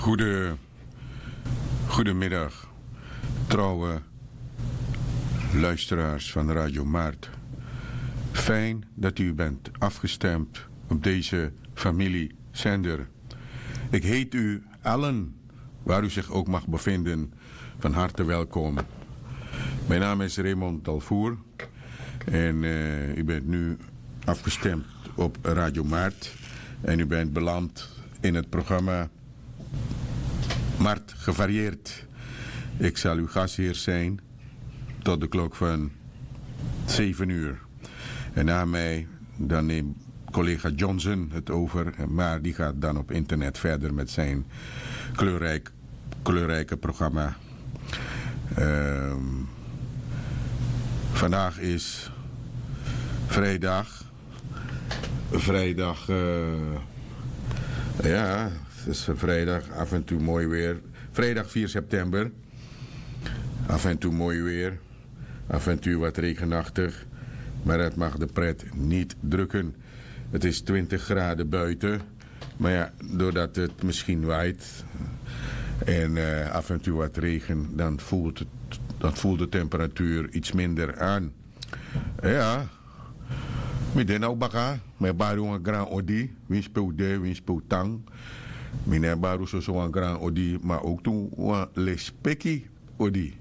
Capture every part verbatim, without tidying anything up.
Goede, goedemiddag, trouwe luisteraars van Radio Maart. Fijn dat u bent afgestemd op deze familiezender. Ik heet u allen, waar u zich ook mag bevinden, van harte welkom. Mijn naam is Raymond Dalvoer en eh, u bent nu afgestemd op Radio Maart. En u bent beland in het programma Mart Gevarieerd. Ik zal uw gastheer zijn tot de klok van zeven uur. En na mij dan neemt collega Johnson het over, maar die gaat dan op internet verder met zijn kleurrijk, kleurrijke programma. Ehm, vandaag is vrijdag. Vrijdag, eh, ja, het is vrijdag, af en toe mooi weer. Vrijdag vier september. Af en toe mooi weer. Af en toe wat regenachtig. Maar dat mag de pret niet drukken. Het is twintig graden buiten. Maar ja, doordat het misschien waait en eh, af en toe wat regen, dan voelt, het, dan voelt de temperatuur iets minder aan. Ja, mi de na un baka, mi e bari un wan gran odi, winsi pe un de, winsi pe un tan. Mi no e bari un soso wan gran odi, ma ook tu wan lespeki odi.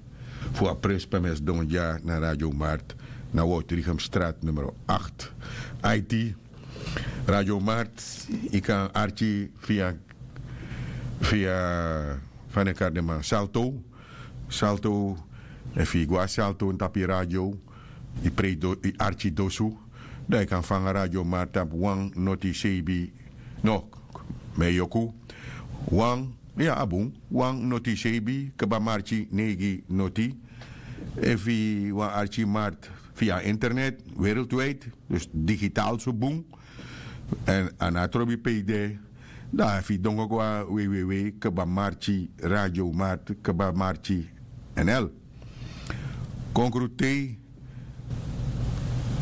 Fu a presi pe mi e sidon dya na Radio Mart, na Woudrichemstraat nummer acht. Aiti, Radio Mart, yu kan arki via, via, fa den e kari den man, Salto. Salto, efu yu go na Salto na tapu yu radio, yu prei do, yu arki dosu, dan yu kan fanga Radio Mart tapu wan noti seibin, no, mi e yoku, wan, ya, a bun, wan noti seibin kaba marki neigi noti. Efu yu wani arki Mart via internet, wereldwijd, dus digitaal so bun. En a no trobi pe yu de, dan efu yu dongo go na www kaba marki Radio Mart kaba marki nl. Konkrutei,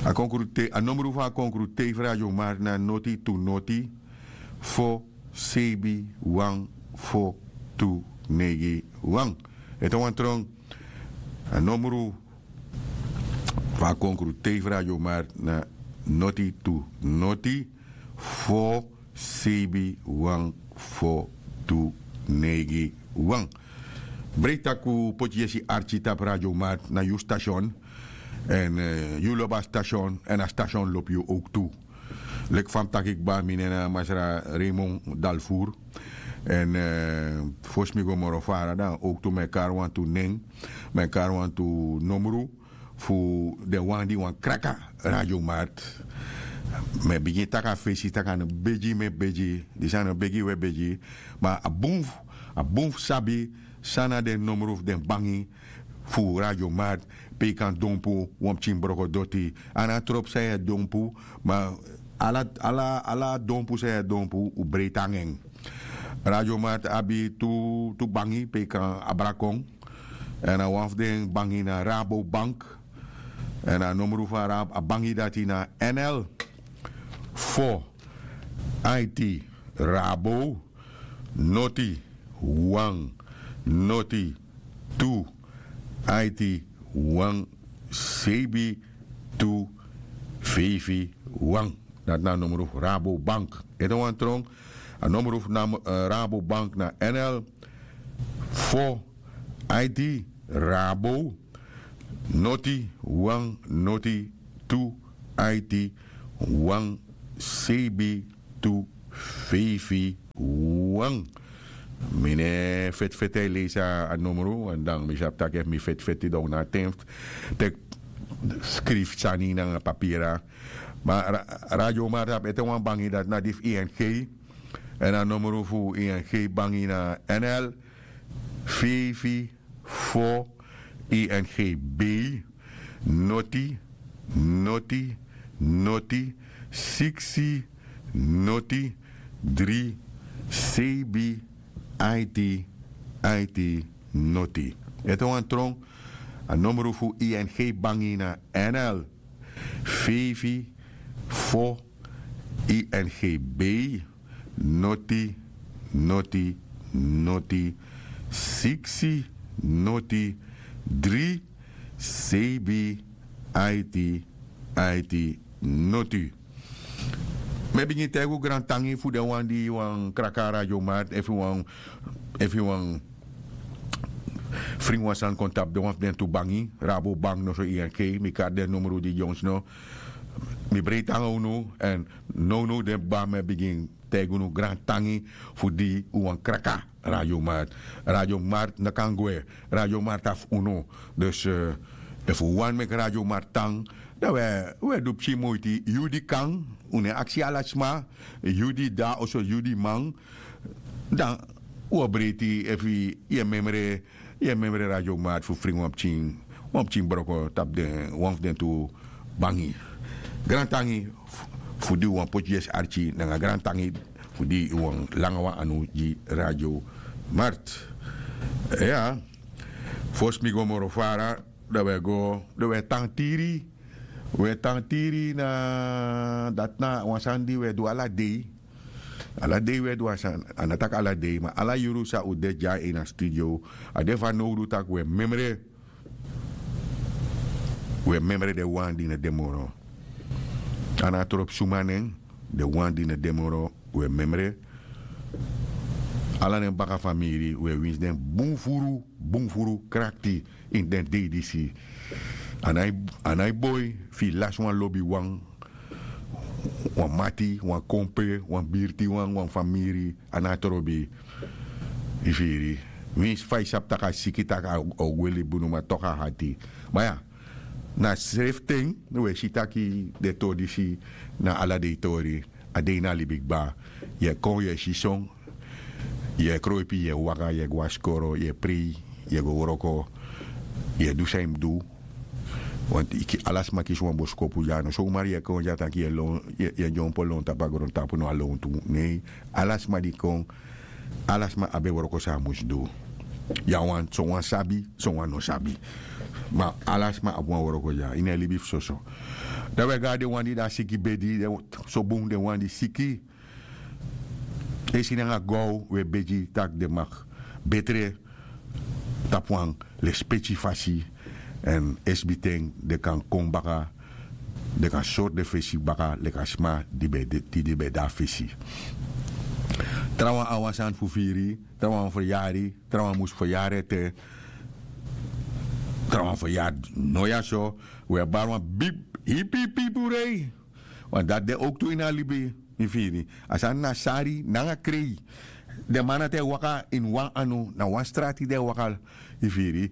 a konkrutei, a nomru fu a konkrutei fu Radio Mart na noti tu noti fo seibin wan fo tu neigi wan. Ete wan tron, a nomru fu a konkrutei fu Radio Mart na noti tu noti fo seibin wan fo tu neigi wan. Breitaku poti yesi arki tapu Radio Mart na yu station. En eh, yu lobi a station en a station lobi yu ook tu. Leki fa mi taki kba, mi nen na masra Raymond Dalvoer. En eh, fosi mi go moro fara dan ook tu mi e kari wantu nen, mi e kari wantu nomru fu den wan di wani kraka Radio Mart. Mi e bigin taki a fesi taki a no begi mi e begi, disi a no begi wi e begi. Ma a bun fu, a bun fu sabi san na den nomru fu den bangi fu Radio Mart, pe yu kan dompu wan pikin broko doti. A no tropu san yu e dompu, ma ala, ala, ala dompu san yu e dompu un breiti nanga en. Radio Mart abi tu, tu bangi pe yu kan abra kon. En a wan fu den bangi na Rabobank. En a nomru fu a Rab, a bangi dati na N L fo aiti Rabo noti wan noti tu aiti wan seibin tu feifi wan. Dati na a nomru fu Rabobank. Ete wan tron, a nomru fu nam, eh, Rabobank na N L fo aiti Rabo noti wan noti tu aiti wan seibin tu feifi wan. Mi no e feti feti e leisi a nomru, want dan mi sabi taki efu mi feti feti dan un no abi ten fu teki skrifi sani nanga papira. Ma ra, Radio Mart abi ete wan bangi dati na di fu I N G. En a nomru fu I N G bangi na N L feifi fo I N G B noti noti noti siksi noti dri seibin aiti aiti noti. Ete wan tron, a nomru fu I N G bangi na N L feifi fo I N G B noti noti noti siksi noti dri seibi aiti aiti noti. Mi e bigin taigi un grantangi fu den wan di wani kraka a Radio Markt, efu yu wani efu yu wani fringi wan sani kon tapu den wan fu den tu bangi, Rabobank noso, I N G. Mi kari den numru di dyonsno. Mi breiti nanga unu. Èn nownow de baba mi e bigin taigi unu grantangi fu di un wani kraka Radio Markt. Radio Markt no kan gwe. Radio Markt na fu unu. Dus efu un wani meki Radio Markt tan, dan un e du pikin moiti. Yu di kan, un no e aksi ala sma. Yu di de na oso, yu di man, dan un o breiti efu yu e memre yu e memre Radio Markt fu fringi wan pikin wan pikin broko tapu den wan fu den tu bangi. Grantangi fu di un wani poti yesi arki nanga grantangi fu di un wani langa wan anu gi Radio Markt. Iya. Fosi mi go moro fara, dan un e go dan un e tan tiri. Un e tan tiri na dati na wan sani di un e du ala dei. Ala dei un e du a sani, a no taki ala dei ma ala yuru san un de dya ini a studio, a de fanowdu tak' un e memre un e memre den wan di no de moro. A no a tropi suma nen. Den wan di no de moro un e memre ala den baka famiri. Un e winsi den bun furu bun furu krakti ini den dei disi. A nái boi fu yu lasi wan lobiwan, wan mati, wan kompe, wan birtiwan, wan famiri. A no a trobi. Yu firi? Winsi fa yu sabi tak' a siki tak' a o gwe libi bunu ma toku a hati. Ma ya, na srefi ten un e si tak' den tori disi na ala dei tori. A dei na libi kba. Yu e kon yu e si son. Yu e kroipi yu e waka yu e go na skoro yu e prei, yu e go wroko, yu e du san yu mus du. Wanti ala sma kisi wan boskopu dya no somari yu e kon dya tak' yu e lon yu e dyompo lon tapu a grontapu no a lontu. Nei, ala sma di kon ala sma abi en wroko san a mus du. Yu a wani sowan sabi, sowan no sabi. Ma ala sma abi wan wroko dya ini en libi fu soso. Dan wi e go na den wan di de na siki bedi. So bun den wan di siki. Esi nanga gow wi e begi tak' den mag betre tapu wan lespeki fasi. Èn esbiten den kan kon baka, den kan sori den fesi baka leki a sma di ben de a fesi. Trawan a wan sani fu firi. Trawan feryari. Trawan mus feryari ete. Trawan feryari no ya so. Wi e bari wan bib hipi hipi purei. Wan dati de owktu ini a libi. Yu firi? A sani na sari nanga krei. Den man dati e waka ini wan anu na wan strati den e waka. Yu firi?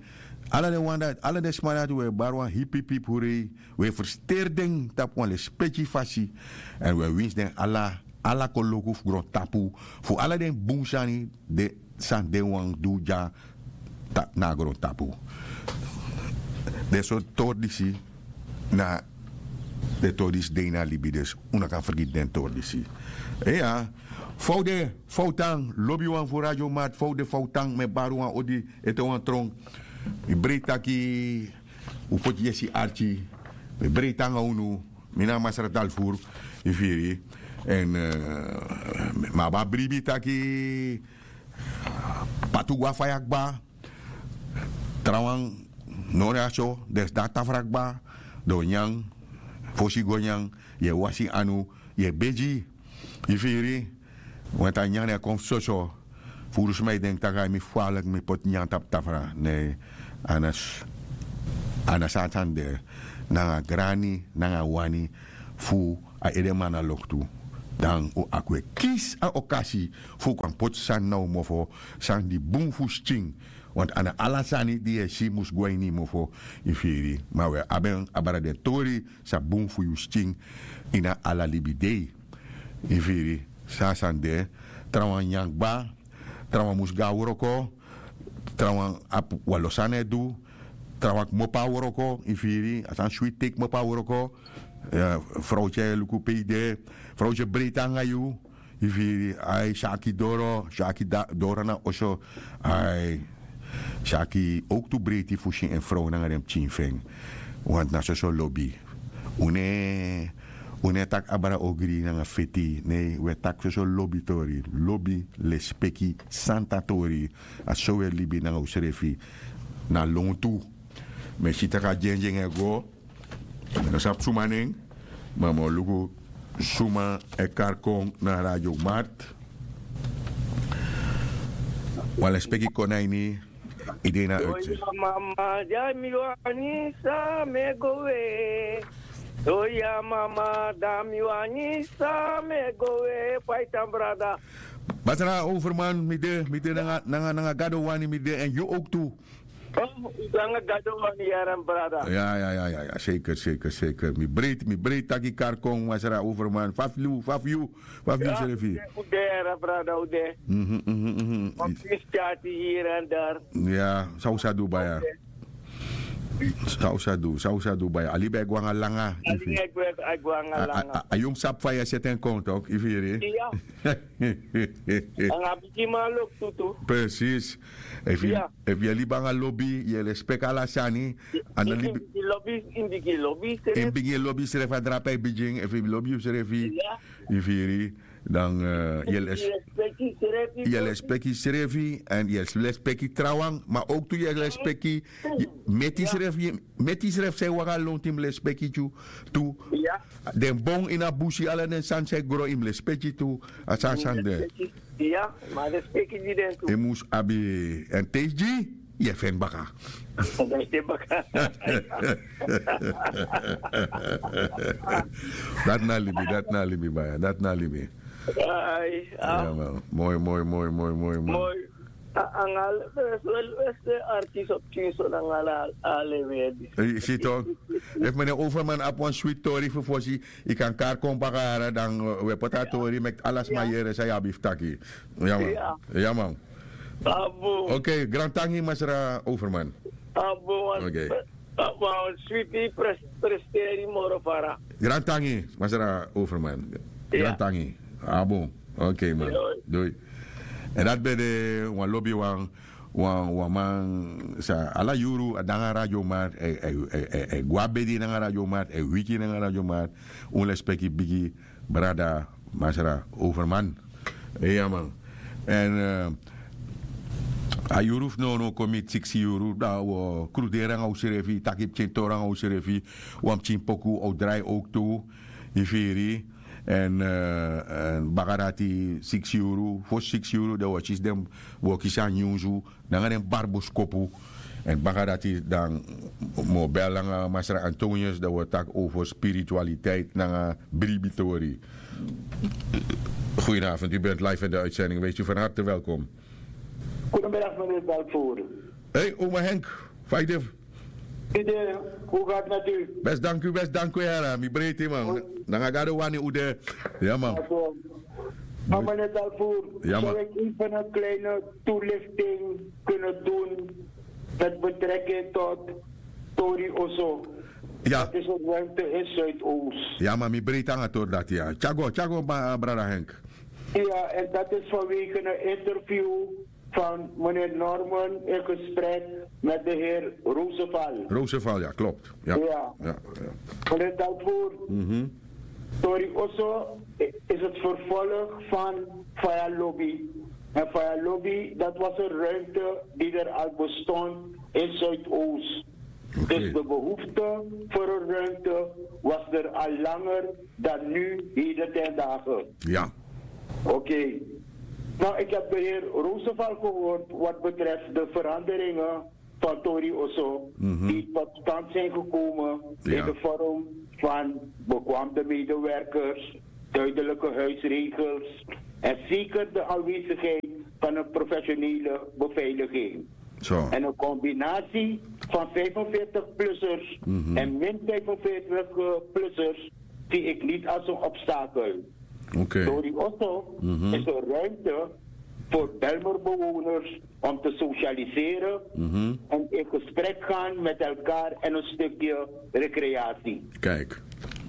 Ala den wan dati ala den sma dati wi e bari wan hipihipi purei. Wi e fersteri den tapu wan lespeki fasi. Èn wi e winsi den ala ala koloku fu grontapu fu ala den bun sani. Den san den wani du dya na a grontapu. Den sortu tori disi na den tori disi de ini a libi dus. Un no kan fergiti den tori disi. Iya. Fa un de? Fa un tan lobiwan fu radiomat? Fa un de fa un tan mi e bari wan odi ete wan tron. Mi breiti taki un poti yesi arki. Mi breiti nanga unu. Mi na a masra dalfuru. Yu firi? Èn mi abi a bribi taki patu go na faya kba. Trawan no na so den si de na tafra kba. Den o nyan. Fosi yu go nyan yu e wasi yu anu. Yu e begi. Yu firi? Wanti a nyan na e kon fu soso. Furu sma e denki tak' a e mi fwaleki mi poti nyan tapu tafra. Ne a na so a sani de. Nanga grani nanga wani fu a edeman na loktu. Dan un akwe kisi a okasi fu un kan poti sani na un mofo. Sani di bun fu skin. Wanti a na ala sani di yu e si mus go na ini yu mofo. Yu firi? Ma un e abi en abra den tori san bun fu yu skin ini a ala libi dei. Yu firi? San a sani de. Trawan nyan kba. Trawan mus go na wroko. Trawan abi wan lo sani e du. Trawan kmopo na wroko. Yu firi? A sani switi te yu kmopo na wroko. Frowtye e luku pe yu de. Frowtye breiti nanga yu. Yu firi? Ai si aki doro si aki doro na oso. Ai si aki owktu breiti fu si en frow nanga den pikin fu en. Wanti na soso lobi. Un no e Un no e taki abra ogri nanga feti. Nei, un e taki soso lobitori, lobi, lespeki, santa tori. A so un e libi nanga unsrefi na lontu. Mi e si tak' a dyendyen e go. Mi no sabi suma nen. Ma mi o luku suma e kari kon na Radio Mart. Wan lespeki kon na ini. Yu de na a uitzending. Oya mama, dan mi wani san mi e go we. Oya mama, dan mi wani san mi e go we. Fa yu tan, brada? Masra Overman, mi de, mi de nanga, nanga, nanga Gado wani mi de, en yu ook tu. Oh, nanga Gado wani, yaran, brada. Ya, ya, ya, ya, ya, zeker, zeker, zeker. Mi breed, mi breed taki kari kon, Masra Overman. Fa fu yu, fa fu yu, fa fu yu srefi. Ude, ude, yaran, brada, ude. Mhm, mhm, mhm. Wan piece chat hier en daar. Ya, san un sa du baya. San un sa du, san un sa du baya. A libi e go nanga langa. A libi e go, e go nanga langa. A, a, a, a yu mus sabi fa yu e seti en kon, toch, yu firi? Ya. Nanga bigi man loktu tu. Precies. Efu yu, efu yu e libi nanga lobi, yu e lespeki ala sani. Yu e bigin lobi, yu e bigin lobi srefi. Yu e bigin lobi srefi, a drape e bigin, efu yu lobi yusrefi. Ya. Yu firi? Dan, eh, yu e les-, yu e lespeki srefi, en yu e lespeki trawan, ma ook tu yu e lespeki, yu, meti srefi, meti srefi san e waka lontu yu mus lespeki tu, tu. Ya. Den bon ini a busi, ala den sani san e gro yu mus lespeki tu, a sani san de. Ya, ma lespeki gi den tu. Yu mus abi en teigi. Yu e feni baka. Dati na libi, dati na libi, baya. Dati na libi. Ai, ah. Ya, man. Moi, moi, moi, moi, moi, moi. Moi. A, anga ala, wes, wes, wes, artiest op Kinso nanga ala, ala lewedi. Eh, si toch. Efu meneer Overman abi wan sweet tori fu fosi, yu kan kari kon baka, dan, eh, wi e poti a tori, meki ala sma yere san yu abi fu taki. Ya, man. Ya. Ya, man. Abo. Oké, grantangi, Masra Overman. Abo, wan, oké, wan switi pres-, presteri moro fara. Grantangi, Masra Overman. Ya. Grantangi. Abo. Oké, man. Doi. Doi. En dati ben de wan lobi wan, wan, wan man san ala yuru a de nanga Radio Mart, e, e, e, e, e go a bedi nanga Radio Mart, e wiki nanga Radio Mart. Un lespeki bigi brada Masra Overman. Ya, man. En, eh, a yuru fu nownow kon miti siksi yuru, dan wi o kruderi nanga unsrefi, taki pikintori nanga unsrefi, wan pikin poku o drai ook tu, yu firi. En, eh, en baka dati siksi yuru, fosi siksi yuru, dan wi o kisi den, wi o kisi a nyunsu, nanga den bari boskopu. En baka dati dan mi o bel nanga Masra Antonius, dan wi o taki over spiritualiteit nanga bribitori. Goedenavond, u bent live in de uitzending. Wees u van harte welkom. Goedemiddag, meneer Balfour. Hey, oma Henk. Fa yu de? Yu de, hoe gaat het met u? Best, dank u, best, dank u, yara. Mi breiti, man. Nanga Gado wani un de. Ya, man. Maar meneer Balfour, zou ik even een kleine toelichting kunnen doen met betrekking tot Tori Oso? Ja. Dat is een ruimte in Zuidoost. Ya, man, mi breiti nanga tori dati, ya. Tyago, tyago, ba-, brada Henk. Ja, en dat is vanwege een interview van meneer Norman in gesprek met de heer Roosevelt. Roosevelt, ja, klopt. Ja. Ja. Ja, ja. Meneer Dalvoer, Tori Oso is het vervolg van Faya Lobby. En Faya Lobby, dat was een ruimte die er al bestond in Zuidoost. Oké. Dus de behoefte voor een ruimte was er al langer dan nu, heden ten dagen. Ja. Oké. Nou, ik heb de heer Roosevelt gehoord wat betreft de veranderingen van Tori Oso, die tot stand zijn gekomen in de vorm van bekwaamde medewerkers, duidelijke huisregels en zeker de aanwezigheid van een professionele beveiliging. Zo. En een combinatie van vijfenveertig-plussers en min vijfenveertig-plussers zie ik niet als een obstakel. Oké. Tori Oso is een ruimte voor Bijlmer-bewoners om te socialiseren en in gesprek gaan met elkaar en een stukje recreatie. Kijk.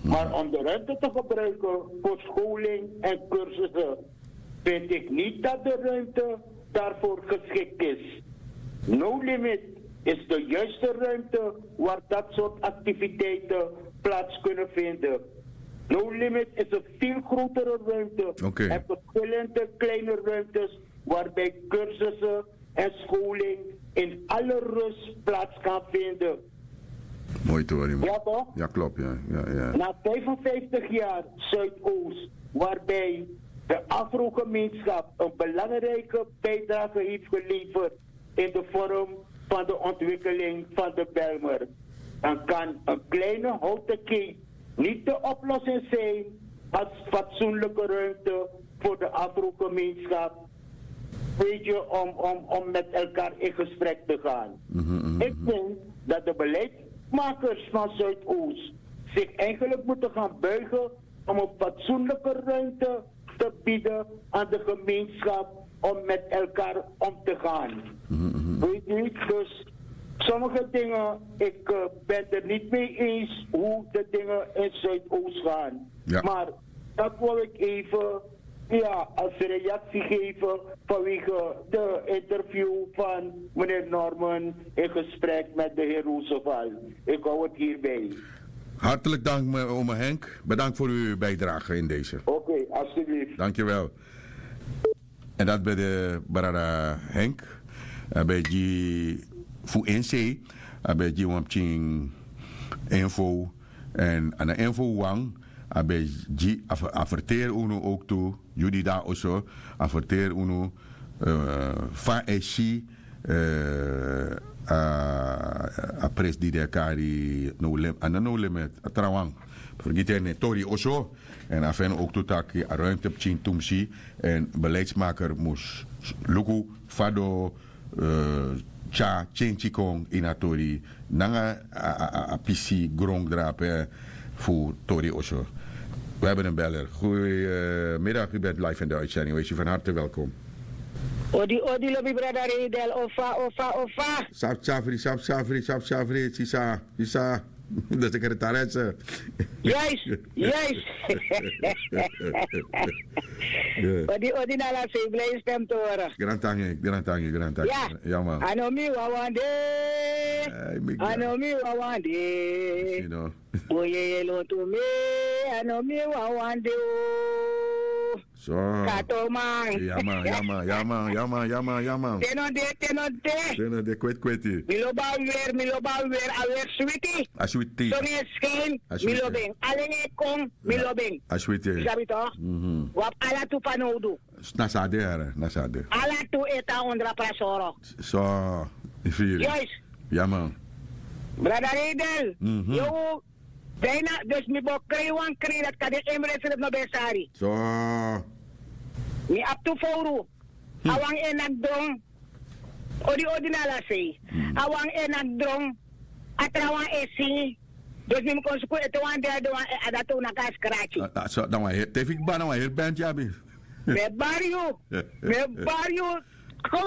Maar om de ruimte te gebruiken voor scholing en cursussen, vind ik niet dat de ruimte daarvoor geschikt is. No Limit is de juiste ruimte waar dat soort activiteiten plaats kunnen vinden. No Limit is een veel grotere ruimte en verschillende kleine ruimtes waarbij cursussen en scholing in alle rust plaats kan vinden. Mooi tori, man. Ja, toch? Ja, klopt, ja. Ja, ja. Na vijfenvijftig jaar Zuidoost, waarbij de Afro-gemeenschap een belangrijke bijdrage heeft geleverd in de vorm van de ontwikkeling van de Bijlmer, dan kan een kleine houten keet niet de oplossing zijn als fatsoenlijke ruimte voor de Afro-gemeenschap, weet je, om, om, om met elkaar in gesprek te gaan. Ik vind dat de beleidsmakers van Zuidoost zich eigenlijk moeten gaan buigen om een fatsoenlijke ruimte te bieden aan de gemeenschap om met elkaar om te gaan. Weet u, dus sommige dingen, ik eh, ben er niet mee eens hoe de dingen in Zuidoost gaan. Maar dat wil ik even, ja, als reactie geven vanwege de interview van meneer Norman in gesprek met de heer Roosevelt. Ik hou het hierbij. Hartelijk dank, me- ome Henk. Bedankt voor uw bijdrage in deze. Oké, alstublieft. Dankjewel. En dat ben de brada Henk. A ben gi fu N C. A ben gi wan pikin info. En a na info wan. A ben gi a ver- a verteri unu ook tu. Yu di de na oso. A verteri unu eh, fa a e si eh, a, a pres di den e kari no lim, a no no limit a trawan. Fergiti en tori oso. En a feni ook tu taki a ruimte pikin tumsi. En beleidsmaker mus luku fa den o eh, tyari tyentyi kon ini a tori nanga a, a, a, a pisi grondrape fu tori oso. We hebben een beller. Goedemiddag, u bent live in de uitzending. Wees u van harte welkom. Odi odi lobi brada Redel, ofa ofa ofa. Sap safri, sap safri, sap safri, sisa, sisa. De secretaresse. Juist, juist. Odi odi na ala sei, blij stem te horen. Grantangi, grantangi, grantangi. Ja. Ja man. A no mi wawan de. A no mi wawan de. Boyeye lontu mi. A no mi wawan de o. So. Katoman. Yaman, yaman, yaman, yaman, yaman, yaman. Teno de, teno de. Teno de, kwet, kweti. Mi lobi a wer, mi lobi a wer, a wer switi. A switi. Son e skin, mi lobi en. Alen e kon, mi lobi en. A switi. Yu sabi toch? Wi abi ala tu fanowdu. Na so a de, na so a de. Ala tu e tan ondro a prasoro. So, yu firi. Juist. Yaman. Brada Redel, yo, Bijna, dus mi bo krijg wan krijg dat kan de emre srif no ben sari. So. Mi abi tu foru. A wan e nak dron. Odi odi na ala sei. A wan e nak dron. A trawan e singi. Dus mi mi kon suku ete wan derde wan e adatu na kan skrati. So dan wan heri tefik ba na wan heri band ya abi. Mi e bari yu. Mi e bari yu. Ko,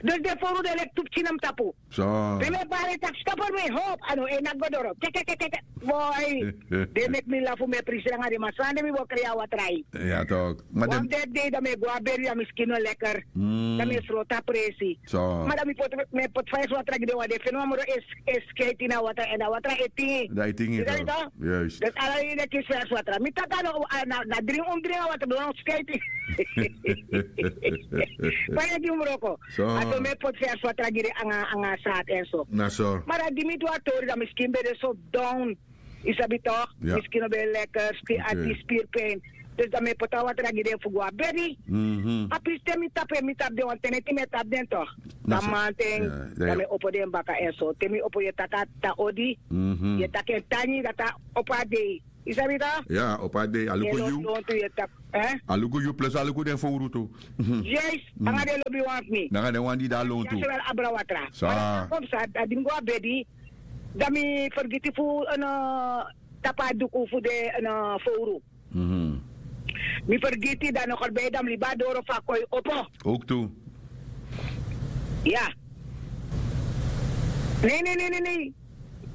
dus den foru den leki tu pikin na mi tapu. So. Den mi e bari tak' stop er mi hop, a no e naki go doro. Kekekekeke. Boi. Den meki mi lafu, mi e prisi nanga den, ma san den mi bo kri a watra. Ya tok. Wan dede dei dan mi e go a beri, dan mi skin no lekker. Dan mi e sroti a presi. So. Ma dan mi poti, mi e poti fa esi watra gi den, wan den feni wan moro esi, esi skeiti na watra, èn a watra e tingi. Dan e tingi. Yu sabi tok? Juist. Dus ala yu de kisi fersi watra. Mi taki a no, a na, na dringi un dringi a watra, no skeiti. Fa yu e gi un wroko. So. A so mi e poti fersi watra gi den anga, anga sati èn so. Na so. Ma dan di mi du a tori dan mi skin ben de so down. Yu sabi tok? Ya. Mi skin no ben lekker, skin ati, spiripijn. Dus dan mi e poti a watra gi den fu go a bedi. Mhm. A pisi te mi tapu en, mi tapu den wan ten neti mi e tapu den tok. Na so. Dan manten, ya, ya, dan mi e opo den baka èn so. Te mi opo yu e taki a tan odi. Mhm. Yu e taki en tangi dati a opo a dei. Yu sabi tok? Ya, opo a dei, a luku yu. Lontu yu e taki, eh? A luku yu plus a luku den fowru tu. Mhm. Juist, nanga den lobiwan fu mi. Nanga den wan di de a lontu. Ya, sowel abra watra. Sa. Ma dan a kon psa, a di mi go a bedi, dan mi fergiti fu, eh, no, tapu a duku fu den, eh, no, fowru. Mhm. Mi fergiti, dan no kort bij dan mi libi a doro fu a koi opo. Ook tu. Ya. Nei, nei, nei, nei, nei.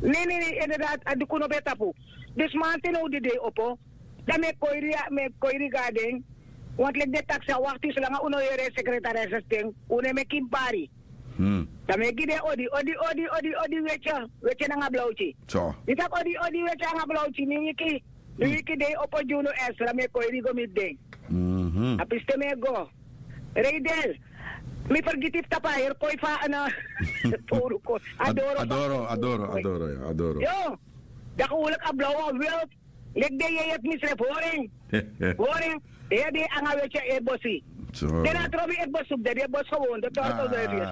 Nei, nei, nei, inderdaad, a duku no ben tapu. Dus manten now di dei opo. Dan mi e koiri, mi e koiri go na den. Want leki den taki san, wakti solanga un no yere secretaris sten, un no e meki bari. Hmm. Dan mi e gi den odi, odi, odi, odi, odi, wetye, wetye nanga blauti. So. Mi taki odi, odi, wetye nanga blauti, mi wiki. Mi wiki dei opo gi unu esra mi e kon e rigo mi den. A piste mi e go. Reidel, mi fergiti fu tapu a heri koi fu a ana. Fowru kon a doro a doro a doro a doro. Yo, daki wuliki a blaw wan wil. Leki den yeye fu mi srefi hori en. Hori en. Den yeye den e anga weti a e bosi. Den na a tron mi e bosi fu den den e bosi gewon den tortel den e firi.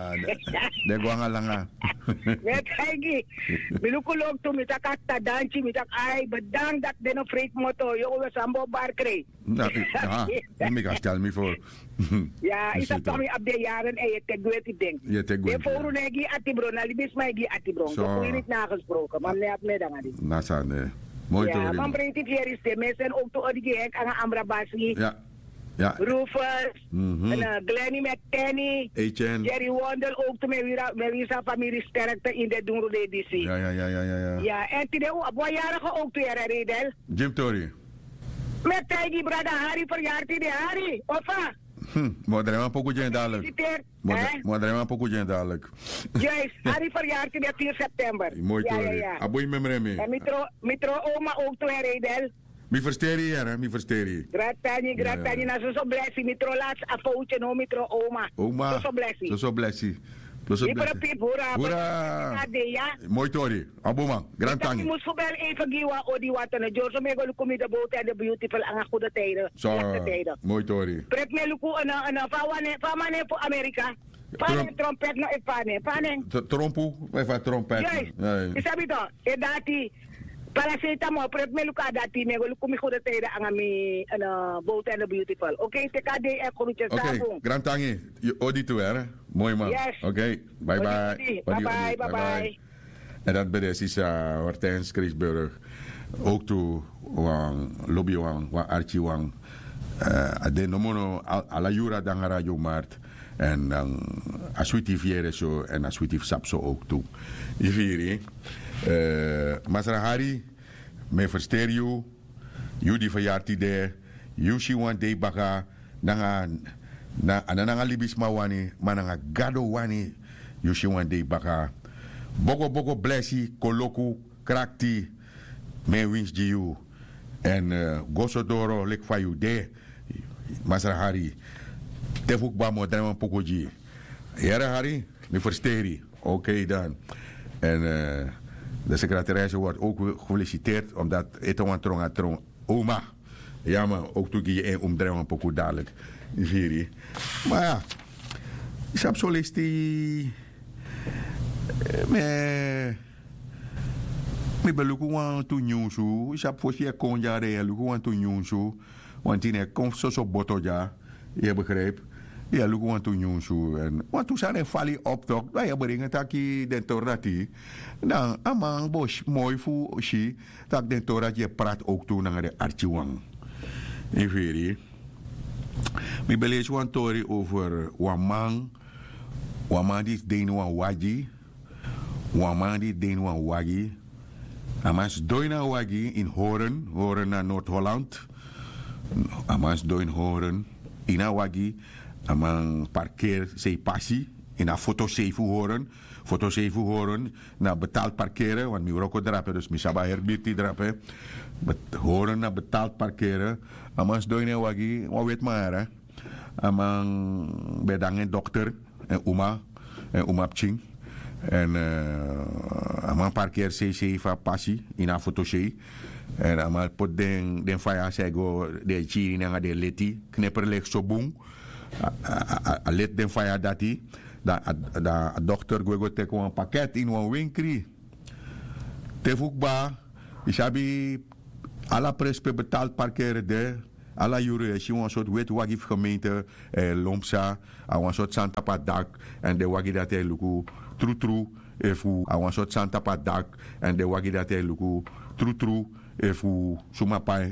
Den go anga langa. Mi e taigi. Mi luku loktu mi taki a kta danki mi taki ai bedank dati den no freiti moto yogo we san bo barkrei. Meki a stel mi for. Ya yu sabi fa mi abi den yaren èn yu e teki weti den. Den fowru no e gi yu atibron na libisma e gi yu atibron. Doku yu niti na a gesproken ma mi no e abi mi e de nanga disi. Na sani. Moi tori. Man breiti fu yeri sten mi e seni owktu odi gi henk nanga ambra basi. Rufus, glenny mckenny, jerry wondel owktu mi e wiri san famiri sterkte ini den dungru dei disi. Ya èn tide un abi wan yarige owktu yere reidel. Gi mi tori. Mi e taigi brada hari feryari tide hari ofa. Mi o drai wan poku gi en dadilik. Mi o drai wan poku gi en dadilik. Hari feryari tide firi september. Moi tori. A boi memre mi. Mi tron oma owktu en reidel. Mi fersteri yu yere mi fersteri yu. Gratani gratani na soso blesi mi tron lasi a fowtye no mi tron oma. Soso blesi. Soso blesi. Hura. Moi tori. A bun man. Grantangi. Mus fu bel even gi wan odi wata na dyorso mi e go luku mi de bowtu en de beautiful anga gude tijden. Slechte tijden. Moi tori. Prep mi e luku en en fa wan nen fa man nen fu amerika. Fa nen trompet no efu fa nen fa nen. Trompu efu fa trompet. Yu sabi to e dati. Palaseta mi o prep mi e luku a dati mi e go luku mi gude tijden anga mi bowtu en de beautiful. Oké teki a dei en krutye sabu. Grantangi. Yu odi tu ere. Moi man. Oké. Bye bye. Bye bye. Bye bye. En dat ben de sisa hortens krisburg. Ook tu wan lobi wan wan arki wan. A den nomo no ala yuru a danga radio mart. En dan a switi fu yere so en a switi fu sabi so ook tu. Yu firi. Masra hari. Mi e fersteri yu. Yu di feryari tide. Yu si wan dei baka. Nanga a no nanga libisma wani ma nanga gado wani. Yu si wan dei baka. Boko boko blesi koloku krakti. Mi e winsi gi yu. Èn go so doro leki fa yu de. Masra hari. Te fu kba mi o drai wan poku gi yu. Yere hari. Mi fersteri. Oké dan. En de sekretarise word ook gefelisiteerd omdat ete wan tronga trong oma. Ya man ook tu gi en un mus drai wan poku dalik. Yu firi. Ma ya. Yu sabi solesti. Mi ben luku wantu nyunsu yu sabi fosi yu e kon dya dan yu e luku wantu nyunsu. Wantu yu no e kon fu soso boto dya. Yu e begripi. Yu e luku wantu nyunsu èn wantu sani e fali yu op tok dan yu e bringi taki den tori dati. Dan a man bo moi fu si tak' den tori dati yu e prati owktu nanga den arkiwan. Yu firi. Mi ben leisi wan tori over wan man. Wan man disi de ini wan wagi. Wan man di de ini wan wagi. A man sidon ini a wagi ini horen horen na nord-holland. A man sidon ini horen ini a wagi. A man parkeri sei pasi ini a fotosei fu horen. Fotosei fu horen na betalt parkere want mi wroko drape dus mi sabi a heri birti drape. Horen na betalt parkere. A man sidon ini a wagi wan weti man yara. A man ben de nanga en dokter en uma en uma pikin. Èn a man parkeri seisei fu a pasi ini a fotosei. Èn a man poti den faya san e go den e kiri nanga den leti kneperleki so bun. A leti den faya dati. Dan a dokter gwe go teki wan paket ini wan wenkri. Te fu kba yu sabi ala presi pe betali parkere de. Ala yuru yu e si wan sortu weti wagi fu gemeente e lon psa. A wan sortu sani tapu a dak èn den wagi dati e luku trutru efu a wan sortu sani tapu a dak èn den wagi dati e luku trutru efu suma pai